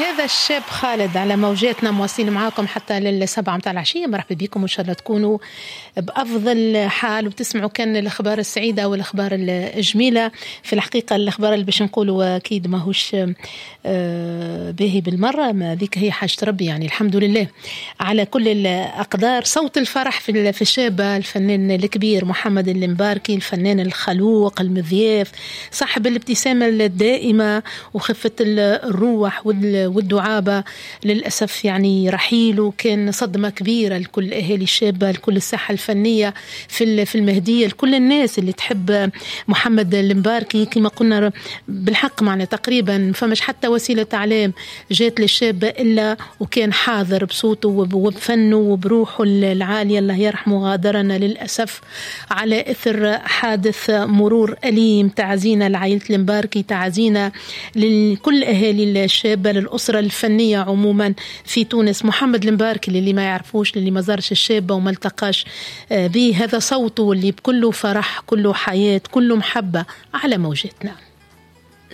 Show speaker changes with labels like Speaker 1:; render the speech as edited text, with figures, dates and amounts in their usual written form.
Speaker 1: هذا الشاب خالد على موجاتنا، مواصلين معاكم حتى لل7 متاع العشية. مرحبا بكم وإن شاء الله تكونوا بأفضل حال وتسمعوا كان الأخبار السعيدة والأخبار الجميلة. في الحقيقة الأخبار اللي باش نقولوا أكيد ماهوش باهي بالمرة، ما ذيك هي حاجة ربي، يعني الحمد لله على كل الأقدار. صوت الفرح في الشابة الفنان الكبير محمد المباركي، الفنان الخلوق المضياف، صاحب الابتسامة الدائمة وخفة الروح والدعابة. للأسف يعني رحيله كان صدمة كبيرة لكل أهالي الشابة، لكل الساحة الفنية في المهدية، لكل الناس اللي تحب محمد المباركي. كما قلنا بالحق معنا تقريبا فمش حتى وسيلة إعلام جات للشابة إلا وكان حاضر بصوته وبفنه وبروحه العالية. الله يرحمه، غادرنا للأسف على إثر حادث مرور أليم. تعزينا لعائلة المباركي، تعزينا لكل أهالي الشابة، للأسرة الفنية عموما في تونس. محمد المباركي للي ما يعرفوش، للي ما زارش الشابة وما التقاش به، هذا صوته اللي بكله فرح، كله حياة، كله محبة على موجاتنا.